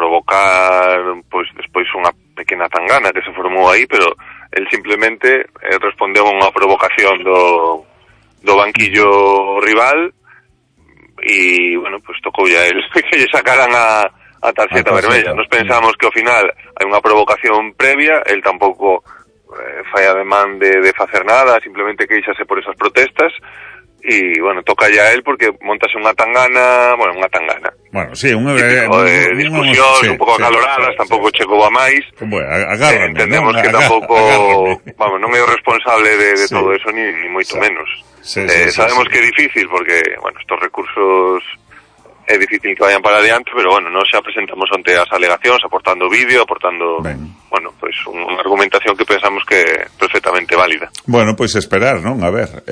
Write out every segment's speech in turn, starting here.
provocar pois despois unha pequena tangana que se formou aí, pero el simplemente respondeu a unha provocación do banquillo rival e, bueno, pues tocou ya el que lle sacaran a tarxeta vermella. Nos pensamos que ao final hai unha provocación previa, el tampouco fai ademán de facer nada, simplemente queixase por esas protestas. E, bueno, toca ya él porque montase unha tangana, Bueno, sí, unha discusión, un pouco acaloradas, tampouco chegou a máis. Bueno, agárrame, entendemos que tampouco, vamos, non é o responsable de todo eso, ni moito menos. Sabemos que é difícil porque, bueno, estos recursos é difícil que vayan para adiante, pero, bueno, nos xa presentamos ante as alegacións, aportando vídeo, bueno, pues unha argumentación que pensamos que é perfectamente válida. Bueno, pois esperar, non? A ver,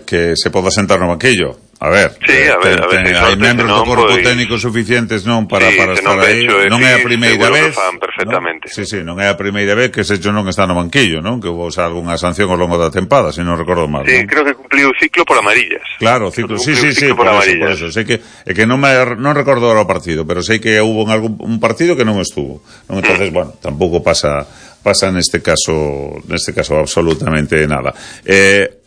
que se poda sentar no banquillo. A ver, sí, a ver hai membros do corpo técnico suficientes non para estar aí. Non é a primeira vez, perfectamente. Sí, non é a primeira vez que Secho non está no banquillo, non? Que houve algunha sanción ao longo da tempada, se non recordo mal. Sí, creo que cumpliu o ciclo por amarillas. Claro, ciclo, sí, por eso. Sei que non recordo ahora o partido, pero sei que houve un partido que non estuvo. Entonces, bueno, tampouco pasa neste caso absolutamente nada.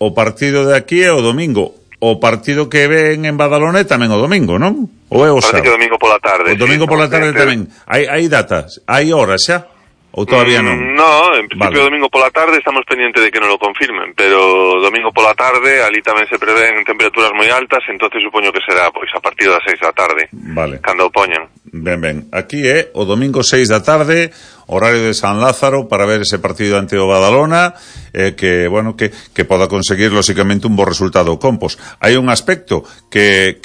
O partido de aquí é o domingo. O partido que ven en Badalona tamén o domingo, non? Ou é o sábado? Parece que domingo pola tarde. O domingo pola tarde tamén. Hai datas? Hai horas xa? Ou todavía non? No, en principio domingo pola tarde estamos pendientes de que non lo confirmen, pero domingo pola tarde ali tamén se prevén temperaturas moi altas, entonces supoño que será pois a partir das 6 da tarde. Vale. Cando o poñan. Ben. Aquí é o domingo 6 da tarde, horario de San Lázaro, para ver ese partido ante o Badalona, que, bueno, que poda conseguir lógicamente un bo resultado o Compos. Hai un aspecto que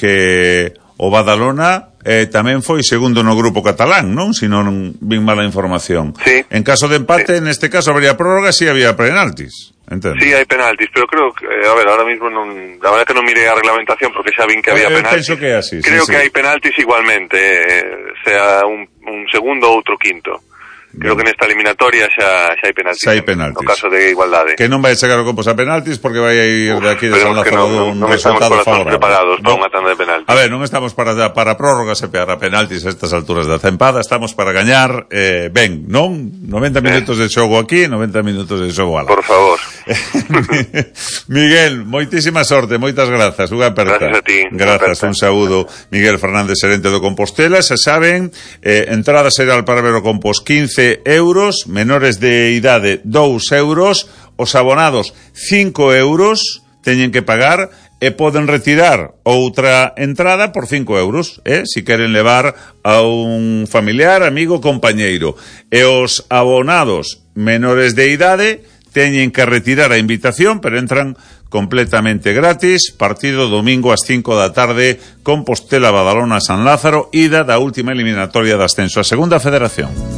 o Badalona tamén foi segundo no grupo catalán, non? Se non vin mala información. Sí. En caso de empate, neste caso habría prórroga, si había penaltis. Entendo. Sí, hai penaltis, pero creo que, a ver, ahora mismo non, la verdad que non mirei a reglamentación porque xa vin que había penaltis. Penso que é así. Creo que hai penaltis igualmente, sea un segundo ou outro quinto. Creo que nesta eliminatoria xa hai penaltis. No caso de igualdade. Que non vai chegar o Compos a penaltis porque vai a ir de aquí de San Lázaro un resultado favorable. Preparados para unha tanda de penaltis. A ver, non estamos para prórrogas e para penaltis a estas alturas da tempada, estamos para gañar, ben, non? 90 minutos de xogo aquí, 90 minutos de xogo alá. Por favor. Miguel, moitísima sorte, moitas grazas, unha aperta. Gracias a ti. Grazas, un saúdo. Miguel Fernández, xerente do Compostela, xa saben, entrada xeral para ver o Compos 15 euros, menores de idade 2 euros, os abonados 5 euros teñen que pagar e poden retirar outra entrada por 5 euros, si queren levar a un familiar, amigo, compañeiro. E os abonados menores de idade teñen que retirar a invitación, pero entran completamente gratis. Partido domingo ás 5 da tarde, Compostela, Badalona, San Lázaro, ida da última eliminatoria de ascenso a Segunda Federación.